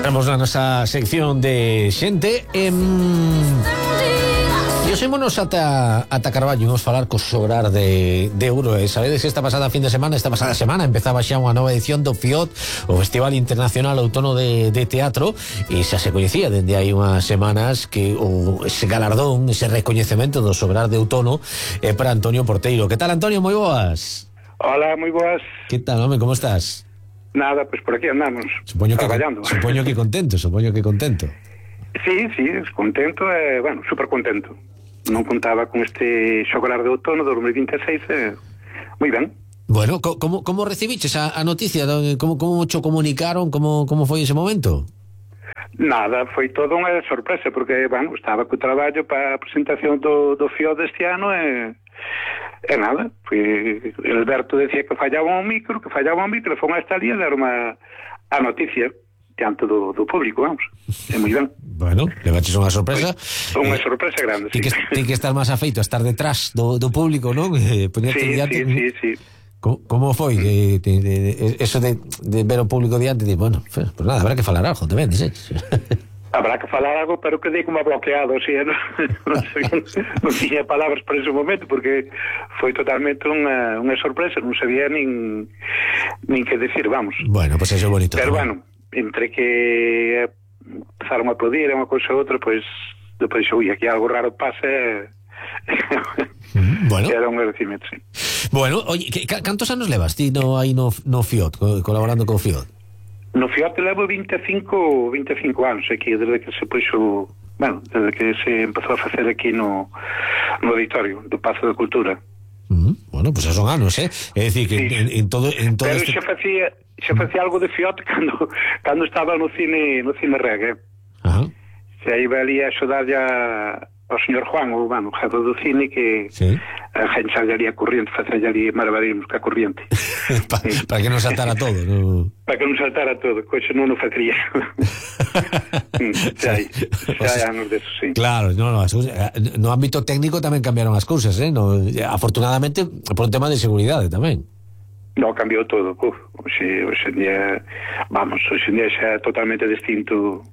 Estamos na nosa sección de xente e sémonos ata Carballo. Vamos falar co Sobrar de Euro. Sabedes que esta pasada semana empezaba xa unha nova edición do FIOT, o Festival Internacional Outono de Teatro, e xa se coñecía dende hai unhas semanas que ese galardón, ese recoñecemento do Sobrar de Outono é para Antonio Porteiro. Que tal, Antonio? Moi boas. Hola, moi boas. Que tal, home? Como estás? Nada, pues por aquí andamos, traballando. Supoño que contento. Sí, contento, bueno, super contento. Non contaba con este Sobrar de Outono 2026, moi ben. Bueno, como recibiches a noticia? Como cho comunicaron? Como foi ese momento? Nada, foi todo unha sorpresa, porque, bueno, estaba co traballo para a presentación do FIO deste ano e nada, Alberto decía que fallaba un micro, e foi esta lía dar a noticia diante do público, vamos. É moi ben. Bueno, levaches unha sorpresa. Unha sorpresa grande, sí. Ten que estar máis afeito a estar detrás do público, non? Sí. Como foi eso de ver o público diante? Bueno, pues nada, habrá que falar algo tamén, dices. Habrá que falar algo, pero que dei como bloqueado, así, non tiña palabras por ese momento, porque foi totalmente unha sorpresa, non sabía nin que decir, vamos. Bueno, pues eso é bonito. Pero bueno, entre que empezaron a aplaudir unha cousa ou outra, pues depois, aquí algo raro pasa. Bueno. Era un agradecimento, sí. Bueno, oye, cantos anos levas ti no FIOT, colaborando con FIOT? No FIOT levo 25 anos aquí, desde que se puxo, bueno, desde que se empezou a facer aquí no auditorio do Pazo de Cultura. Bueno, pues son anos, É dicir que sí. en todo pero xa facía algo de FIOT cando estaba no cine reggae. Ajá. Se iba ali a axudar ao señor Juan, o jefe do cine, que sí. A gente salía ali a corriente, facía ali malabarismos ca corriente. Para que non saltara todo, ¿no? Para que non saltara todo, coisa non o facría. Xa hai anos deso, sí. Claro, no ámbito técnico tamén cambiaron as cousas, afortunadamente por un tema de seguridade tamén. No, cambiou todo. Hoxe en día xa é totalmente distinto.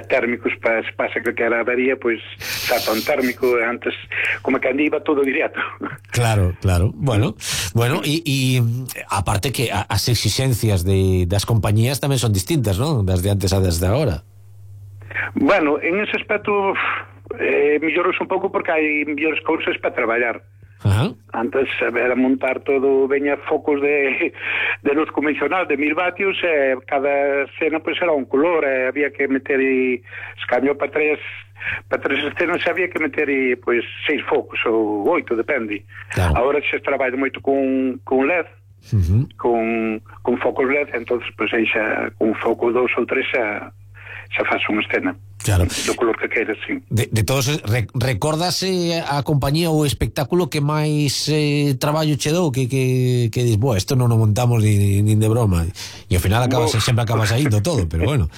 Térmicos pasa que era avería, pois salta un térmico antes, como que iba todo directo. Claro. Bueno, e aparte que as exigencias das compañías tamén son distintas, non? Das de antes a desde agora. Bueno, en ese aspecto mellorou un pouco porque hai mellores cousas para traballar. Ajá. Antes era montar todo, veña focos de luz convencional de 1000 vatios, cada escena pues era un color, había que meter escaño para tres escenas, había que meter pues 6 focos ou 8, depende. Claro. Agora se trabalha moito con LED, con focos LED, entonces pues aí xa con foco 2 ou 3 xa faz unha escena. Claro. Do color que queres, sí. De todos, recórdase a compañía ou o espectáculo que máis traballo che dou, que dis, isto non o montamos nin de broma, e ao final sempre acaba saindo todo, pero bueno.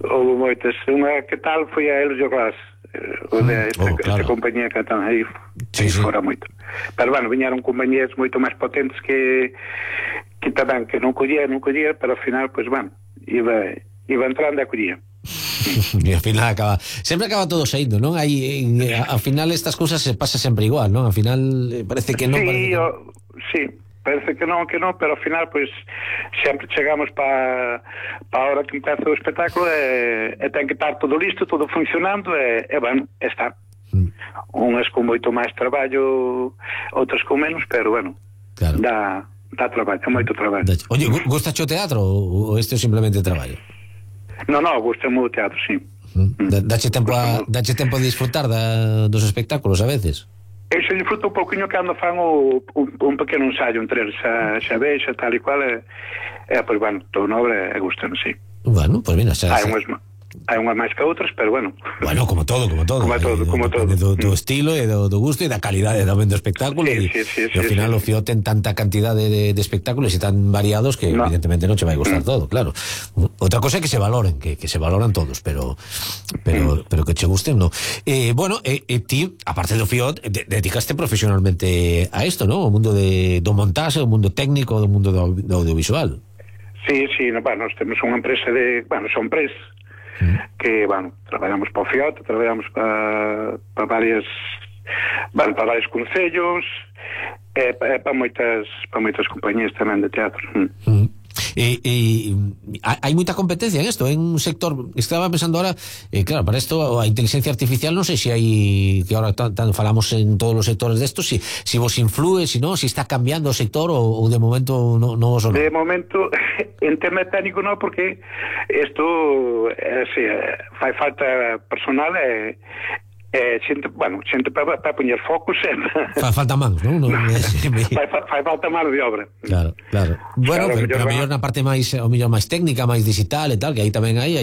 Houve moitas. Unha que tal foi a Helio Glass, esta compañía que están aí fora moito. Pero bueno, viñeron compañías moito máis potentes que tamén que non collía, pero ao final, pues bueno, iba entrando e collía. E ao final sempre acaba todo saindo, non? Ao final estas cousas se pasa sempre igual, non? Ao final parece que non. Sí, parece que non, pero ao final pues sempre chegamos para a hora que empeza o espectáculo e ten que estar todo listo, todo funcionando e bueno, está. Unhas con moito máis traballo, outras con menos, pero bueno, claro. Dá traballo, moito traballo. Oye, gusta o teatro ou isto é simplemente traballo? No, gusta-me o teatro, sí. Dache tempo a disfrutar dos espectáculos a veces? Eu se disfruto un pouquinho cando fan un pequeno ensayo entre eles, xa vexa, tal e cual, pois, bueno, todo nobre e gustan, sí. Bueno, pois mira, xa... Hai unhas máis que outras, pero bueno. Bueno, como todo. Como todo. Do estilo e do gusto e da calidade tamén do espectáculo. Sí, e ao final o FIOT ten tanta cantidade de espectáculos e tan variados que evidentemente non che vai gustar todo, claro. Outra cosa é que se valoren, que se valoran todos, pero que che gusten, no. Bueno, ti, aparte do FIOT, dedicaste profesionalmente a isto, ¿no? O mundo do montaxe, o mundo técnico, o mundo do audiovisual. Sí, bueno, nós temos unha empresa de, son empresas que, traballamos para o FIOT, traballamos para varios concellos, para moitas compañías tamén de teatro. Hai moita competencia en isto, en un sector, estaba pensando ahora, claro, para isto a inteligencia artificial non sei se hai, que ahora falamos en todos os sectores desto, si vos influe, si está cambiando o sector ou de momento non vos o non. De momento en tema técnico non, porque isto fai falta personal xente para poñer focos fai falta mans, non? Fai falta mano de obra. Claro. Bueno, pero mellor na parte máis, o mellor máis técnica, máis digital e tal, que aí tamén hai